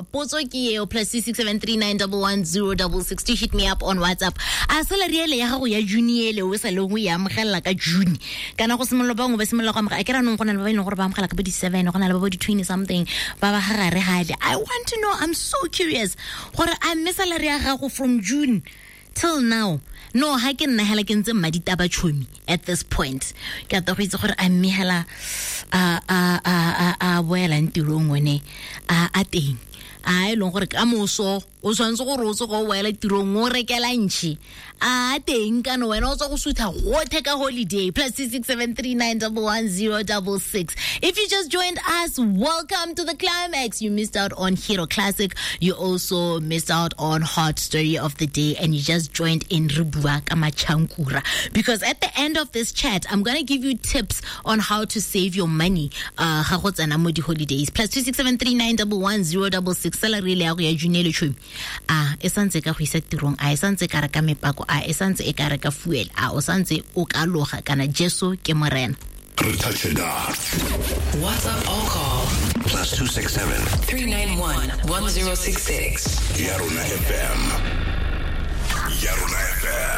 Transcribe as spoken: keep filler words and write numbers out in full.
Potso ke eo, plus six six seven three nine double one zero double six to hit me up on WhatsApp. A salary ele ya gago ya June ele o sa le go e amogela ka June. Kana go simolola bangwe ba simolola go amogela. A ke ra nong go na le ba e leng gore ba amogela ka bo di-seven, go na le ba bo di-twenty something, ba ba gare gale. I want to know, I'm so curious gore a mme salary ya gago from June till now. No, ha ke nna hela ke ntse mmaditaba chomi at this point. Ke ata go itse gore a mme hela a a a a a boelang tirong one a a teng. A e leng gore ka moso o tshwanetse gore o tsoge o boela tirong o rekela ntšhi. A teng kana wena o tswa go sutha gotlhe ka holiday. Plus six six seven three nine double one zero double six. If you just joined us, welcome to the climax. You missed out on Hero Classic. You also missed out on Hot Story of the Day, and you just joined in re bua ka machankura. Because at the end of this chat, I'm gonna give you tips on how to save your money uh ga go tsena mo di-holidays. Plus two six seven three nine double one zero double six. Salary le ya go ya June le tšhomi. A e santse ka go isa tirong, a e santse ka reka mepako, a e santse e ka reka fuel, a o santse o ka loga kana Jesu ke morena. Touch it up. WhatsApp or call Plus two six seven three nine one one zero six six. Yarona F M. Yarona F M.